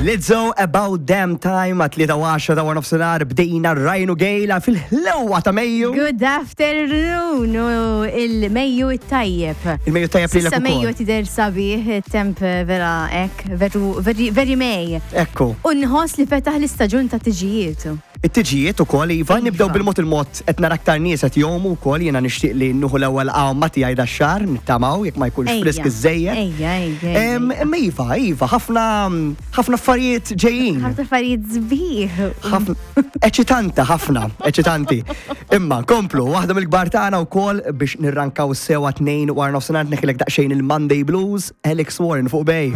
Lizzo About Damn Time għat 3 ta' nofsinhar bdejna Ryan u Gejla fil-ħlewa ta' Mejju. Good afternoon, u il-Mejju it-tajjeb. Il-Mejju tajjeb lilek Issa Mejju ukoll. tidher sabiħ, temp vera ek, veru, very, very May. Ekku. U nħoss li fetaħ l-istaġun ta' tiġijiet. It-tiġijiet ukoll iva, Iva. nibdew bil-mod il-mod qed nara aktar nies qed jgħumu wkoll jiena nixtieq li nieħu l-ewwel għawma tiegħi dax-xahar nittamaw jekk ma jkunx Ejja. frisk iżżejjed. Ejja, ejja, ejja. Imma iva, iva, ħafna ħafna affarijiet ġejjin. Ħafna affarijiet sbieħ. Ħafna eċitanti ħafna, eċitanti. Imma komplu, waħda mill-kbar tagħna wkoll biex nirrankaw sewa 2 wara nofsinhar neħilek daqsxejn il-Monday Blues, Alex Warren fuq Bay.